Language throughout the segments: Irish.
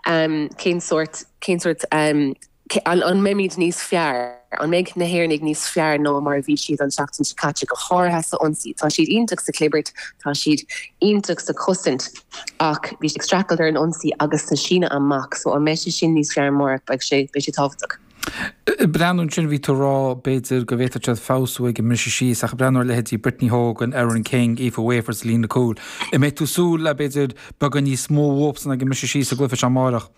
Cén sórt, cén sórt, an mbeimid níos fearr, an mbeidh na hÉireannaigh níos fearr ná mar a bhí siad an tseachtain seo caite, go háirithe sa ionsaí. Tá siad iontach sa chlibirt, tá siad iontach sa chosaint ach bhí siad ag streachailt ar an ionsaí agus sa síneadh amach so an mbeidh sé sin níos fearr amárach, beidh sé, beidh sé tábhachtach. Ag breathnú ansin, bhí tú ag rá, b'fhéidir, go bhféadfadh siad feabhsú ag an mbriseadh síos, ach ag breathnú ar leithéidí Brittany Hogan, Erin King, Aoife Wafer sa líne cúil, an mbeidh tú ag súil le, b'fhéidir, beagán níos mó uathsan ag an mbriseadh síos sa gcluiche seo amárach?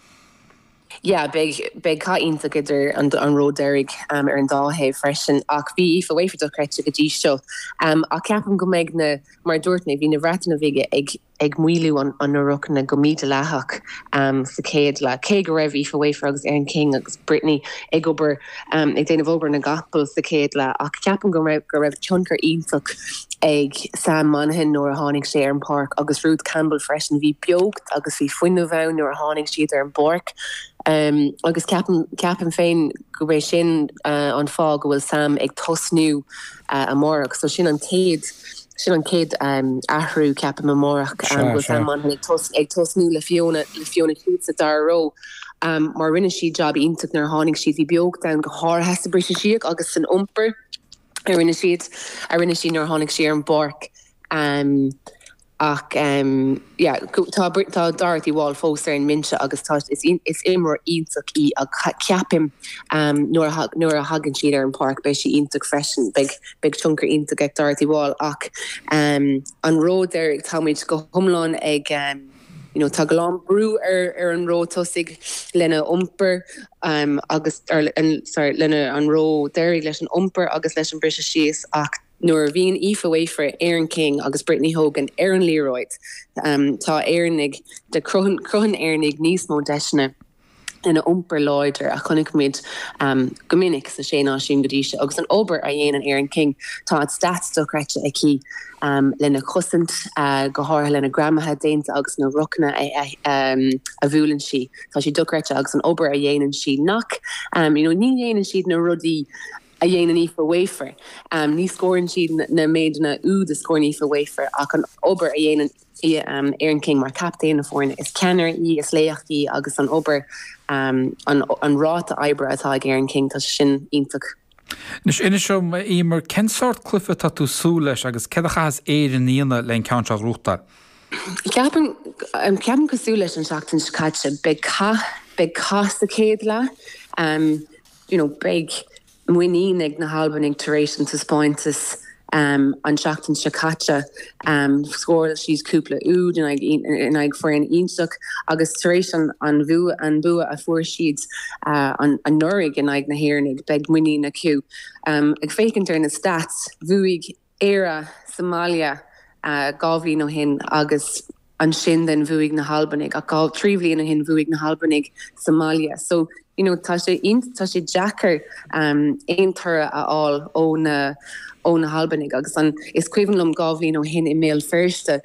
Yeah, beidh, beidh cath iontach idir an, an ró deiridh ar an dá thaobh freisin, ach bhí Aoife Wafer dochreidte go dtí seo. Ach ceapaim go mbeidh na, mar a dúirt mé, bhí na Breataine Bhige ag, ag maolú an na rucanna go mídhleathach sa chéad leath. Cé go raibh Aoife Wafer agus Erin King agus Brittany ag obair, ag déanamh obair na gcapall sa chéad leath ach ceapaim go raibh go raibh tionchar iontach ag Sam Monaghan nuair a tháinig sé ar an bpáirc agus Ruth Campbell freisin. Bhí beocht agus bhí fuinneamh ann nuair a tháinig siad ar an bpáirc agus ceapaim ceapaim féin gurb é sin an fáth go bhfuil Sam ag tosnú amárach. So sin an chéad sin an chéad athrú ceapaim amárach go bhfuil Sam Monaghan ag tosnú le Fiona le Fiona Sheets sa dara ró mar rinne siad jab iontach nuair a tháinig siad. Bhí beocht ann go háirithe sa briseadh síos agus san iompar a rinne siad a rinne sí nuair a tháinig sí ar an bpáirc. Ach yeah tá tá Dorothy Wall fós ar an mbinse agus tá is is imreoir iontach í ach ceapaim nuair a nuair a thagann siad ar an bpáirc beidh sí iontach freisin. Beidh beidh tionchar iontach ag Dorothy Wall ach an ró deiridh táimid go hiomlán ag you know tá go lán brú ar ar an ró tosaigh lena iompar agus ar sorry lena an ró deiridh leis an iompar agus leis an briseadh síos ach Nuair a bhíonn Aoife Wafer, Erin King agus Brittany Hogan ar an liathróid, tá Éireannaigh, cruthaíonn Éireannaigh níos mó deiseanna lena iompar láidir a chonaic muid go minic sa Sé Náisiún go dtí seo. Agus an obair a dhéanann Erin King, tá a stats dochreidte aici lena cosaint, go háirithe lena greamaithe déanta agus na rucanna a bhuaileann sí. Tá sí dochreidte agus an obair a dhéanann sí nach, you know, ní dhéanann siad na rudaí a dhéanann Aoife Wafer. Ní scórann siad na méideanna úd a scórann Aoife Wafer ach an obair a dhéanann Erin King mar chaptaen na foirne, is ceannaire í, is laoch í agus an obair, an ráta oibre atá ag Erin King, tá sé sin iontach. Anois, inis dom, a Eimear, cén sórt cluiche atá tú ag súil leis agus céard a chaithfeas Éirinn a dhéanamh le an ceann seo a ghnóthachtáil? Ceapaim, ceapaim cosúil leis an seachtain seo caite, beidh cath, beidh cath sa chéad leath. you know beidh muinín ag na hAlbanaigh tar éis an taispeántas an tseachtain seo caite. Scóráil siad cúpla úd in aghaidh foireann iontach agus tar éis an an bua a fuair siad anuraidh in aghaidh na hÉireannaigh, beidh muinín acu. Ag féachaint ar na stats, bhuaigh Éire sa mbaile 2 bhliain ó shin agus ansin then bhuaigh na hAlbanaigh ach 2, 3 bhliain ó shin bhuaigh na hAlbanaigh sa mbaile. So, you know, tá sé tá sé deacair aon toradh a fháil ó na ó na hAlbanaigh agus an is cuimhin liom 2 bhliain ó shin i mBéal Feirste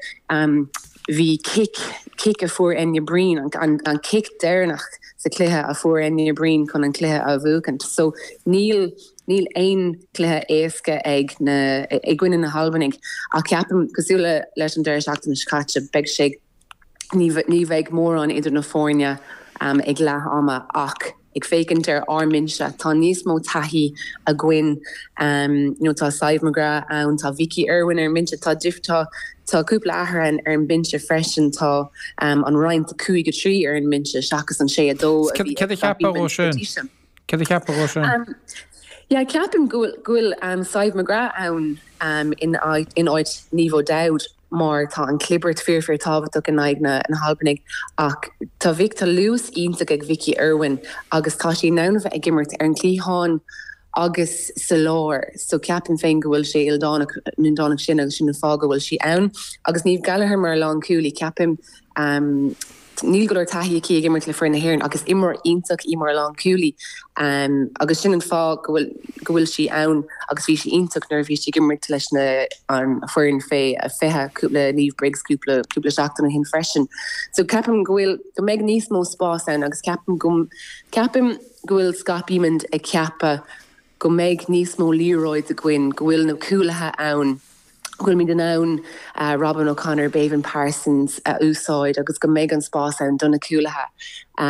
bhí cic cic a fuair Enya Breen an an an cic deireanach sa chluiche a fuair Enya Breen chun an cluiche a bhuachaint. So níl Níl aon chluiche éasca ag na i gcoinne na hAlbanaigh ach ceapaim, cosúil le leis an deireadh seachtaine seo caite, beidh sé ní ní bheidh mórán idir na foirne ag leath ama ach ag féachaint ar ár mbinse, tá níos mó taithí againn. You know, tá Sadhbh McGrath ann, tá Vicky Irwin ar an mbinse, tá tá tá cúpla athrú ar an mbinse freisin, tá an roinnt 5, 3 ar an mbinse seachas an 6, 2 a bhí Céard a cheapfá dhó sin? Céard a cheapfá dhó sin? Yeah, ceapaim go bhfuil go bhfuil Sadhbh McGrath ann in áit in áit Niamh O'Dowd mar tá an clibirt fíor fíor tábhachtach in aghaidh na na hAlbanaigh ach tá Vic tá luas iontach ag Vicky Irwin agus tá sí in ann a bheith ag imirt ar an gcliathán agus sa lár so ceapaim féin go bhfuil sé ildánach ildánach sin agus sin an fáth go bhfuil sí ann agus Niamh Gallagher mar lánchúlaí ceapaim Níl go leor taithí aici ag imirt le foireann na hÉireann ach is imreoir iontach í mar lánchúlaí agus sin an fáth go bhfuil go bhfuil sí ann agus bhí sí iontach nuair a bhí sí ag imirt leis na an foireann fé 20 le Niamh Briggs cúpla cúpla seachtain ó shin freisin. So ceapaim go bhfuil go mbeidh níos mó spás ann agus ceapaim go ceapaim go bhfuil Scott Bemand ag ceapadh go mbeidh níos mó liathróid againn, go bhfuil na cúlaithe ann. go bhfuilimid in ann Robyn O'Connor, Béibhinn Parsons a úsáid agus go mbeidh an spás ann do na cúlaithe.